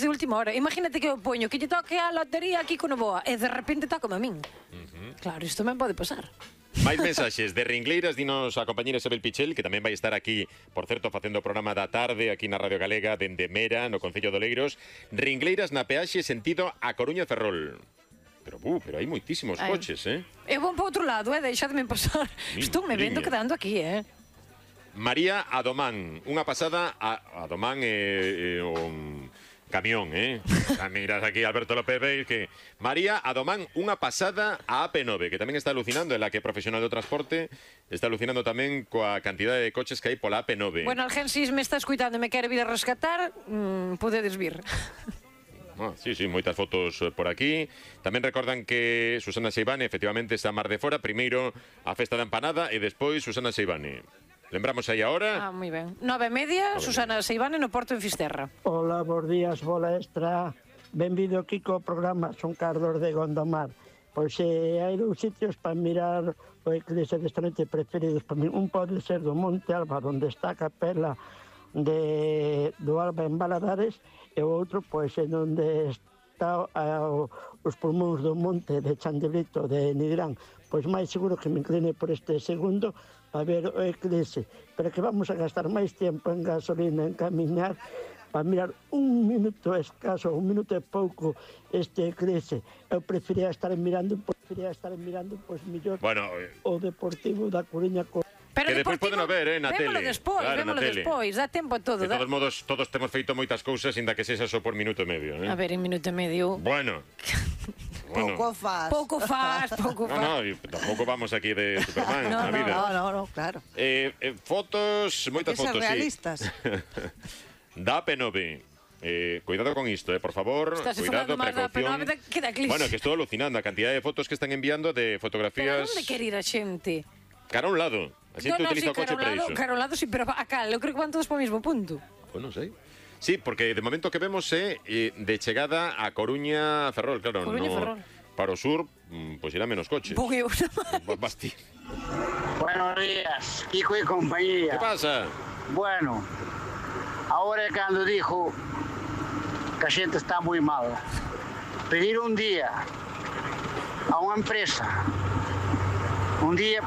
de última hora. Imagínate que eu poño que lle toque a lotería aquí con Novoa e de repente toca a min. Claro, isto tamén pode pasar. Máis mensaxes de Ringleiras, dinos a compañera Isabel Pichel, que tamén vai estar aquí, por certo, facendo o programa da tarde aquí na Radio Galega, dende Mera, no Concello de Oleiros. Ringleiras na peaxe sentido a Coruña Ferrol. Pero hai moitísimos coches, Eu vou para outro lado, deixadme pasar. Estou me vendo quedando aquí, María Adomán, unha pasada a Adomán o camión, miras aquí Alberto López Beis que María Adomán, unha pasada a AP9, que tamén está alucinando, en la que profesional do transporte está alucinando tamén coa cantidade de coches que hai pola AP9. Bueno, alguén si me está escuitando e me quere vir a rescatar, podedes vir. Sí, moitas fotos por aquí. Tamén recordan que Susana Seivane efectivamente está a mar de fora. Primeiro a festa da empanada e despois Susana Seivane. Lembramos aí agora. Moi ben. 9:30, Susana Seivane no Porto en Fisterra. Hola, bons días, bola extra. Benvido aquí co programa, son Carlos de Gondomar. Pois hai dous sitios para mirar o eclipse desta noite preferidos para mí. Un pode ser do Monte Alba, onde está a capela do Alba en Baladares, e o outro, pois, en onde está os pulmóns do monte de Chandebrito, de Nigrán. Pois máis seguro que me incline por este segundo para ver o eclipse, pero que vamos a gastar máis tempo en gasolina, en camiñar, para mirar un minuto escaso, un minuto e pouco este eclipse. Eu prefería estar mirando, pois mellor o Deportivo da Coruña con... Pero que despois poden ver, na tele. Vémolo despois, dá tempo a todo. De todos modos, todos temos feito moitas cousas, inda que sexa só por minuto e medio. A ver, en minuto e medio... Bueno. Pouco faz. Pouco faz. No, tampouco vamos aquí de Superman na vida. No, claro. Fotos, moitas fotos, realistas. Da P9. Cuidado con isto, por favor. Cuidado, precaución. Bueno, que estou alucinando a cantidad de fotos que están enviando de fotografías. Pero onde quer ir a xente? Cara a un lado. A xente utiliza o coche para iso. Cara a un lado, sí, pero a cal, eu creo que van todos para o mesmo punto. Pois non sei. Sí, porque de momento que vemos é de chegada a Coruña Ferrol, claro. Coruña Ferrol. Para o sur, pois irá menos coches. Porque eu Basti. Buenos días, Kiko y compañía. Que pasa? Bueno, ahora é cando dijo que a xente está moi mal. Pedir un día a unha empresa,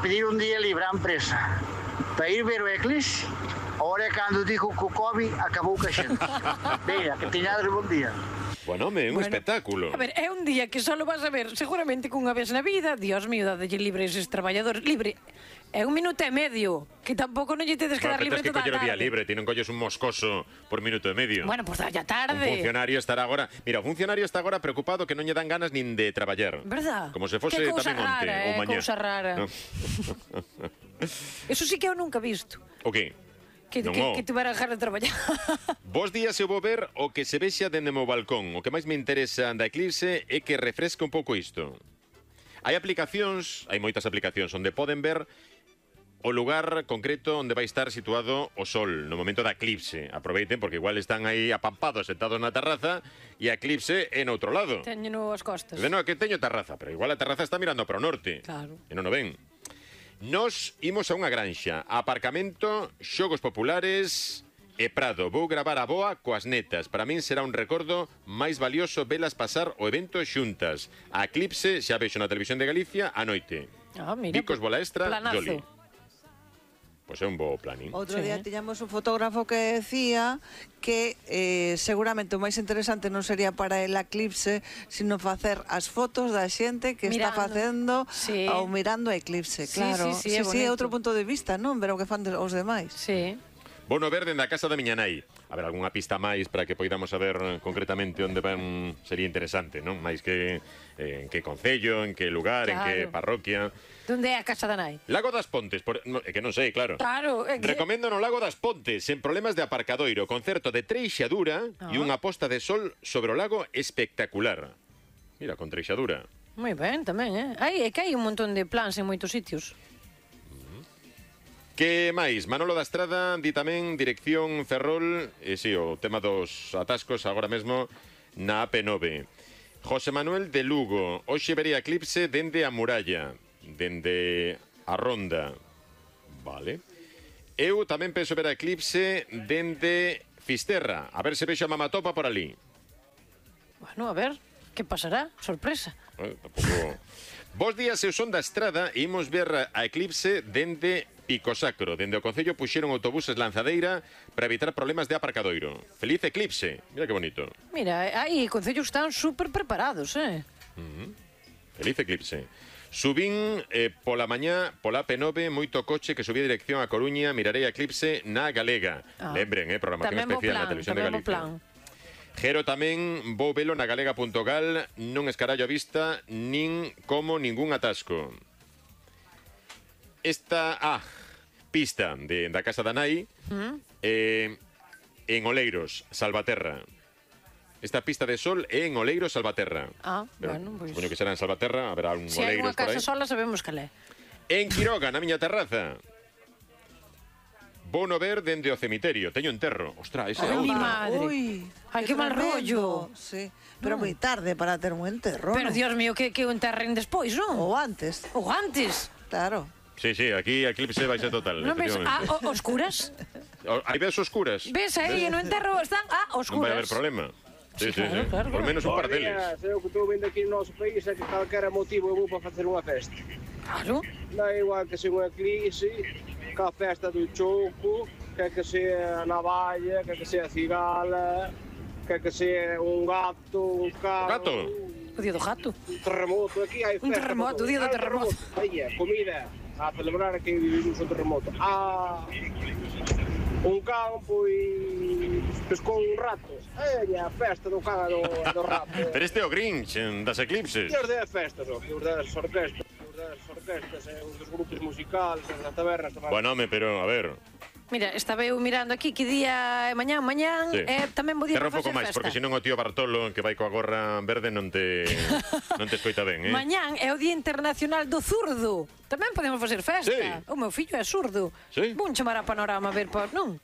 pedir un día libre á empresa para ir ver o eclipse, ahora é cando dijo que o COVID acabou ca xente. Venga, que teñades bon día. Bueno, home, é un espectáculo. A ver, é un día que só lo vas a ver seguramente cunha vez na vida. Dios mío, dadelle libre eses traballadores. Libre. É un minuto e medio, que tampouco non lle tedes que dar libre toda a tarde. Tens que coller o día libre, ti non colles un moscoso por minuto e medio. Bueno, pois dalle a tarde. Un funcionario estará agora... Mira, o funcionario está agora preocupado que non lle dan ganas nin de traballar. Verdad? Como se fose tamén onte ou mañá. Que cousa rara. Eso sí que eu nunca visto. O que? Que te van a dejar de traballar. Bos días, eu vou ver o que se vexa dende o meu balcón. O que máis me interesa da eclipse é que refresca un pouco isto. Hai aplicacións, hai moitas aplicacións, onde poden ver o lugar concreto onde vai estar situado o sol no momento da eclipse. Aproveiten, porque igual están aí apampados, sentados na terraza, e a eclipse é no outro lado. Teño as costas. No, que teño terraza, pero igual a terraza está mirando para o norte. Claro. E non o ven. Nos imos a unha granxa, aparcamento, xogos populares e prado. Vou gravar a boa coas netas. Para min será un recordo máis valioso velas pasar o evento xuntas. A eclipse xa vexo na televisión de Galicia a noite. Mira, Vicos Bola Extra, planazo. Joli. Pois é un bo planning. Outro día tiñamos un fotógrafo que decía que seguramente o máis interesante non sería para el eclipse, sino facer as fotos da xente que está facendo ou mirando a eclipse, claro. Sí, é outro punto de vista, non? Ver o que fan os demais. Sí. Bono ver dende a casa da miña nai. A ver, algunha pista máis para que poidamos saber concretamente onde van, sería interesante, non? Máis que en que concello, en que lugar, en que parroquia. Onde é a casa da nai? Lago das Pontes, é que non sei, claro. Claro, é que... Recomendo no Lago das Pontes, sen problemas de aparcadoiro, concerto de treixadura e unha posta de sol sobre o lago espectacular. Mira, con treixadura. Moi ben, tamén, é que hai un montón de plans en moitos sitios. Que máis? Manolo da Estrada di tamén dirección Ferrol, o tema dos atascos agora mesmo na AP9. José Manuel de Lugo, hoxe vería eclipse dende a Muralla, dende a Ronda. Vale. Eu tamén penso ver a eclipse dende Fisterra, a ver se vexo a Mamatopa por ali. Bueno, a ver, que pasará? Sorpresa. Tampouco... Bos días, eu son da Estrada e imos ver a eclipse dende Pico Sacro. Dende o Concello puxeron autobuses lanzadeira para evitar problemas de aparcadoiro. Feliz eclipse. Mira que bonito. Mira, aí concellos están super preparados, Feliz eclipse. Subín pola mañá, pola P9, moito coche que subía dirección a Coruña, mirarei a eclipse na Galega. Lembren, programación especial na Televisión de Galicia. Gero tamén vou velo na galega.gal, non escarallo a vista, nin como ningún atasco. Esta, pista da casa da nai, en Oleiros, Salvaterra. Esta pista de sol é en Oleiros, Salvaterra. Bueno, pois... Supoño que será en Salvaterra, haberá un Oleiros por aí. Se hai unha casa sola, sabemos cal é. En Quiroga, na miña terraza. Vou no ver dende o cemiterio. Teño enterro. Ostras, ese é Ai, mi outro. madre. Ai, que mal rollo. Sí, pero moi tarde para ter un enterro. Pero, Dios mío, que o enterren despois, non? Ou antes. Ou antes. Claro. Sí, aquí a eclipse vai ser total. Non ves oscuras? Hai ves oscuras. Ves aí, no enterro están oscuras. Non vai haber problema. Sí. Claro. Por menos un par deles. Eu que estou vendo aquí no noso país é que calquera motivo é bom para facer unha festa. Claro. Non é igual que se unha eclipse, que a festa do choco, que sea a navalla, que sea a cigala, que sea un gato, un carro... Gato? O día do gato. Un terremoto, aquí hai festa. Un terremoto, o día do terremoto. Aí comida, a celebrar que vivimos o terremoto. Un campo e pescou un rato. A festa do can do rato. Pero este é o Grinch das eclipses. E os de festas, os das orquestas, os dos grupos musicales, as das tabernas. Bueno, pero, a ver... Mira, estaba eu mirando aquí que día é mañán, Sí. tamén bo día Terra para un pouco facer máis, festa. porque senón o tío Bartolo, que vai coa gorra verde, non te escoita ben, Mañán é o Día Internacional do Zurdo. Tamén podemos facer festa. Sí. O meu fillo é zurdo. Sí. Vou chamar a Panorama a ver, non?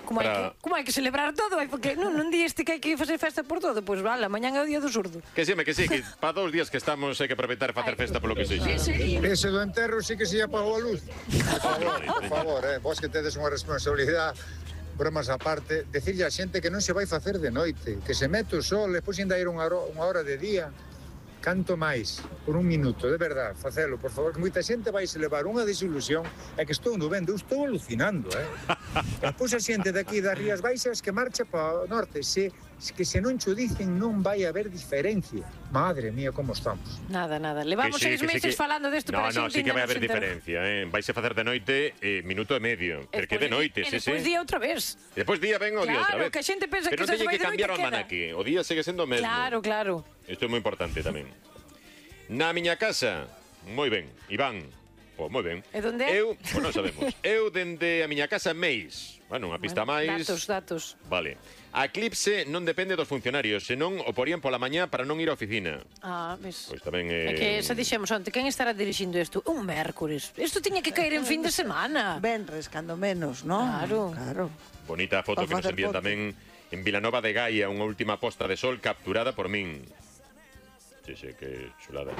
Como hai que celebrar todo, porque non di este que hai que facer festa por todo, pois vale, mañán é o Día do Zurdo. Que sí, que para 2 días que estamos hai que aproveitar e facer festa polo que sexa. Ese do enterro sí que se apagou a luz. Por favor, vos que tedes unha responsabilidade, bromas aparte, decirlle a xente que non se vai facer de noite, que se mete o sol, despois ainda ir unha hora de día. Canto máis, por un minuto, de verdad, facelo, por favor, que moita xente vai se levar unha desilusión, e que estou no vendo, estou alucinando, Despois a xente daqui das Rías Baixas que marcha para o norte, que se non cho dicen non vai haber diferencia. Madre mía, como estamos. Nada. Levamos 6 meses falando desto, pero No, sí que vai haber diferencia, Vais a facer de noite minuto e medio, porque de noite, sí. Despois día outra vez. Despois día ven o día outra vez. Claro, que a xente pensa pero que se vai de noite. Pero non teñe que cambiar o almanaque, o día segue sendo o mesmo. Claro. Isto é moi importante tamén. Na miña casa, moi ben, Iván. Moi ben. E onde é? Pois non sabemos. Eu dende a miña casa Meis. Bueno, unha pista máis. Datos. Vale. A eclipse non depende dos funcionarios, senón o porían pola mañá para non ir á oficina. Ves. Pois tamén É que xa dixemos onte, quen estará dirixindo isto? Un mércores. Isto tiña que caer en fin de semana. Venres, cando menos, non? Claro. Bonita foto que nos envían tamén en Vilanova de Gaia, unha última posta de sol capturada por min. Sí, que chulada.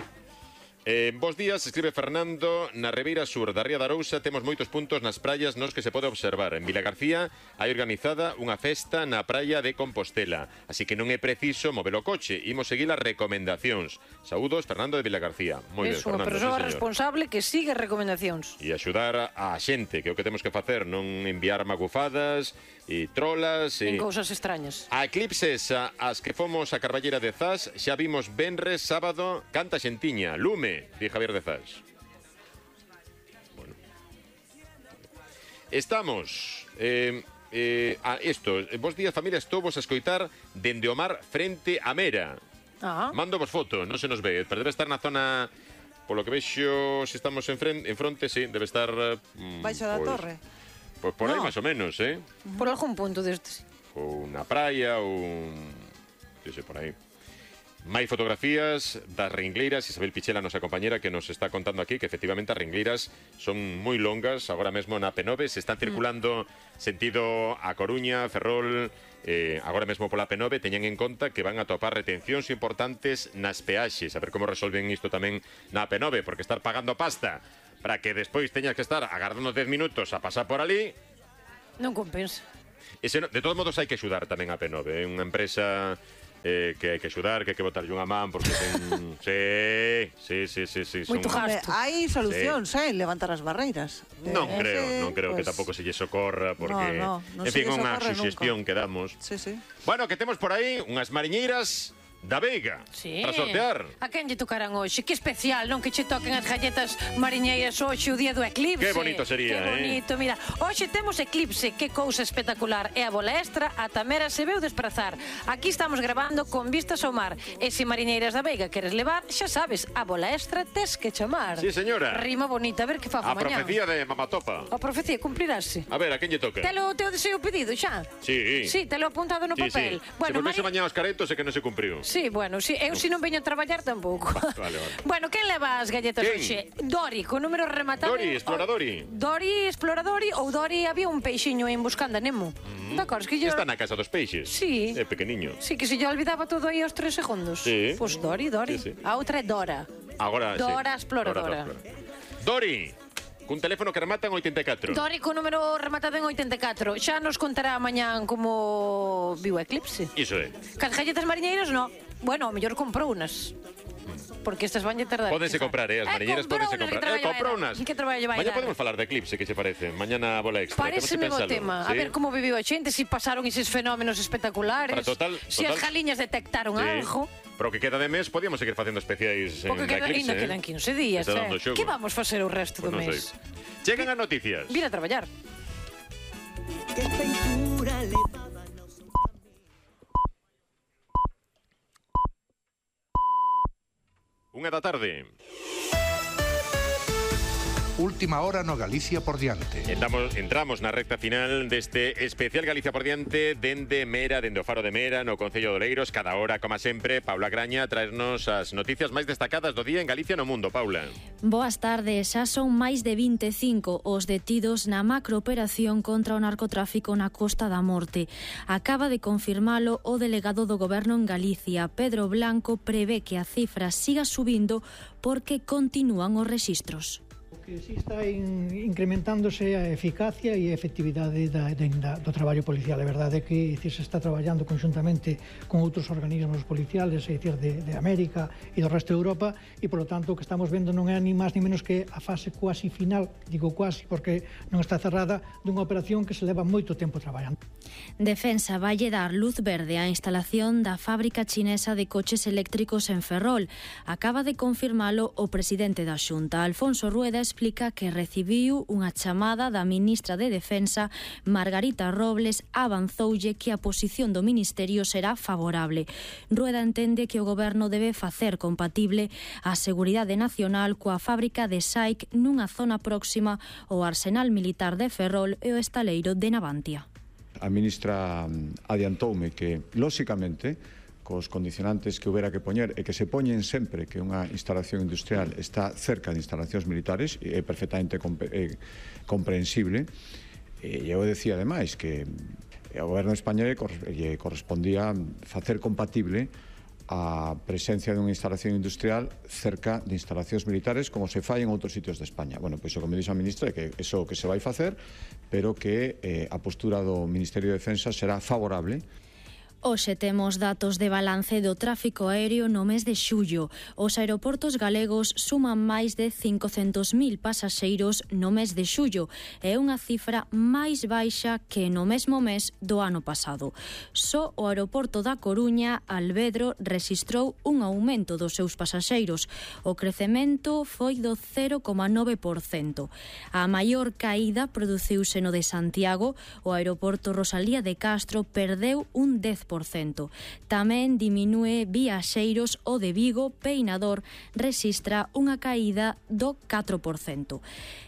Bos días, escribe Fernando. Na Ribeira Sur da Ría de Arousa temos moitos puntos nas praias nos que se pode observar. En Vila García hai organizada unha festa na praia de Compostela, así que non é preciso mover o coche. Imos seguir as recomendacións. Saúdos, Fernando de Vila García. Moi ben, É unha Fernando, persoa sí, responsable que sigue recomendacións. E axudar a xente, que é o que temos que facer, non enviar magufadas e trolas En cousas extrañas. A eclipses as que fomos a Carballera de Zas xa vimos venres, sábado, canta xentiña, lume, di Javier de Zas. Bueno. Estamos vos días familia, estou vos a escoitar dende o mar frente a Mera. Mando vos foto, non se nos ve, pero debe estar na zona, polo que vexo, se estamos en fronte, sí, debe estar baixo da torre. Pois por aí máis ou menos, Por algún punto destes. Ou na praia, ou... por aí. Mai fotografías das ringleiras. Isabel Pichela, nosa compañera, que nos está contando aquí que efectivamente as ringleiras son moi longas. Agora mesmo na P9 se están circulando sentido a Coruña, Ferrol. Agora mesmo pola P9 teñan en conta que van a topar retencións importantes nas peaxes. A ver como resolven isto tamén na P9, porque estar pagando pasta para que despois teñas que estar agardando 10 minutos a pasar por ali non compensa. De todos modos hai que axudar tamén a P9, é unha empresa que hai que axudar, que hai que botarlle unha man, porque ten... Sí. Moito gasto. Hai solucións, levantar as barreiras. Non creo que tampouco se lle socorra, porque... Non en fin, unha suxestión que damos. Sí. Bueno, que temos por aí unhas mariñeiras da Veiga, para sortear. A quen lle tocarán hoxe? Que especial, non? Que che toquen as galletas mariñeiras hoxe o día do eclipse. Que bonito sería, Que bonito, mira. Hoxe temos eclipse, que cousa espectacular. E a bola extra, a Tamera se veu desprazar. Aquí estamos grabando con vistas ao mar. E se mariñeiras da Veiga queres levar, xa sabes, a bola extra tes que chamar. Sí, señora. Rima bonita, a ver que fago mañá. A profecía de Mamatopa. A profecía cumplirase. A ver, a quen lle toca? Telo o teu deseo pedido xa? Sí. Sí, telo apuntado no papel. Bueno, se volvese mañá aos caretos é que non se cumpriu. Sí, bueno, sí, eu se non veño a traballar tampouco. Vale. Bueno, quen leva as galletas hoxe? Dori, con número rematado. Dori, exploradori. Dori, exploradori, ou Dori había un peixiño en Buscando a Nemo. D'acordo, que yo... Está na casa dos peixes. Sí. É pequeniño. Sí, que se yo olvidaba todo aí aos 3 segundos. Sí. Pois Dori. Sí. A outra é Dora. Agora, Dora, exploradora. Dori, cun teléfono que remata en 84. Dori con número rematado en 84. Xa nos contará mañán como viu o eclipse. Iso é. Cas galletas mariñeiras, no. Bueno, ao mellor comprou unas. Porque estas van a tardar. Pódense comprar, as mariñeiras pódense comprar. Comprou unas. Que traballo vai Mañá dar? podemos falar de eclipse, que se parece. Mañá na bola extra. Paréceme bo tema. A ver como viviu a xente, se pasaron eses fenómenos espectaculares. Se as galiñas detectaron algo. Pero que queda de mes, podíamos seguir facendo especiais en da eclipse. Ainda quedan 15 días, Que vamos facer o resto do mes? Chegan as noticias. Vir a traballar. Que feitura levaba nos... Unha da tarde. Última hora no Galicia por diante. Entramos na recta final deste especial Galicia por diante dende Mera, dende o Faro de Mera, no Concello de Oleiros. Cada hora, como sempre, Paula Graña traernos as noticias máis destacadas do día en Galicia e no mundo. Paula. Boas tardes. Xa son máis de 25 os detidos na macrooperación contra o narcotráfico na Costa da Morte. Acaba de confirmalo o delegado do Goberno en Galicia. Pedro Blanco prevé que a cifra siga subindo porque continúan os rexistros. Que si está incrementándose a eficacia e a efectividade do traballo policial. É verdade que se está traballando conxuntamente con outros organismos policiales, é dicir, de América e do resto de Europa, e, polo tanto, o que estamos vendo non é ni máis ni menos que a fase cuasi final, digo cuasi porque non está cerrada, dunha operación que se leva moito tempo traballando. Defensa valle dar luz verde á instalación da fábrica chinesa de coches eléctricos en Ferrol. Acaba de confirmalo o presidente da Xunta, Alfonso Rueda, explica que recibiu unha chamada da ministra de Defensa, Margarita Robles, avanzoulle que a posición do Ministerio será favorable. Rueda entende que o Goberno debe facer compatible a seguridade nacional coa fábrica de SAIC nunha zona próxima ao arsenal militar de Ferrol e o estaleiro de Navantia. A ministra adiantoume que, lóxicamente, cos condicionantes que houbera que poñer e que se poñen sempre que unha instalación industrial está cerca de instalacións militares, e é perfectamente comprensible. E eu decía, ademais, que ao goberno español lle correspondía facer compatible a presencia dunha instalación industrial cerca de instalacións militares como se fai en outros sitios de España. Bueno, pois o que me dixo a ministra é que iso que se vai facer, pero que a postura do Ministerio de Defensa será favorable. Hoxe temos datos de balance do tráfico aéreo no mes de xullo. Os aeroportos galegos suman máis de 500.000 pasaxeiros no mes de xullo. É unha cifra máis baixa que no mesmo mes do ano pasado. Só o aeroporto da Coruña, Alvedro, rexistrou un aumento dos seus pasaxeiros. O crecemento foi do 0,9%. A maior caída produciuse no de Santiago. O aeroporto Rosalía de Castro perdeu un 10%. Tamén diminúe viaxeiros o de Vigo, Peinador rexistra unha caída do 4%.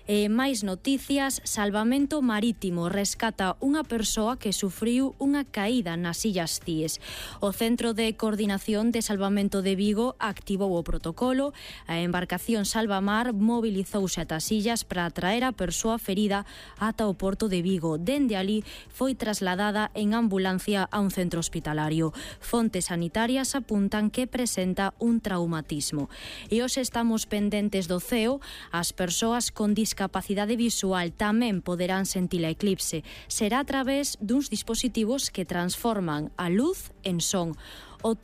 E máis noticias, Salvamento Marítimo rescata unha persoa que sufriu unha caída nas Illas Cíes. O Centro de Coordinación de Salvamento de Vigo activou o protocolo. A embarcación Salvamar mobilizouse ata as illas para traer a persoa ferida ata o porto de Vigo. Dende ali foi trasladada en ambulancia a un centro hospitalario. Fontes sanitarias apuntan que presenta un traumatismo. E hoxe estamos pendentes do ceo. As persoas con discapacidade visual tamén poderán sentir a eclipse. Será a través duns dispositivos que transforman a luz en son. O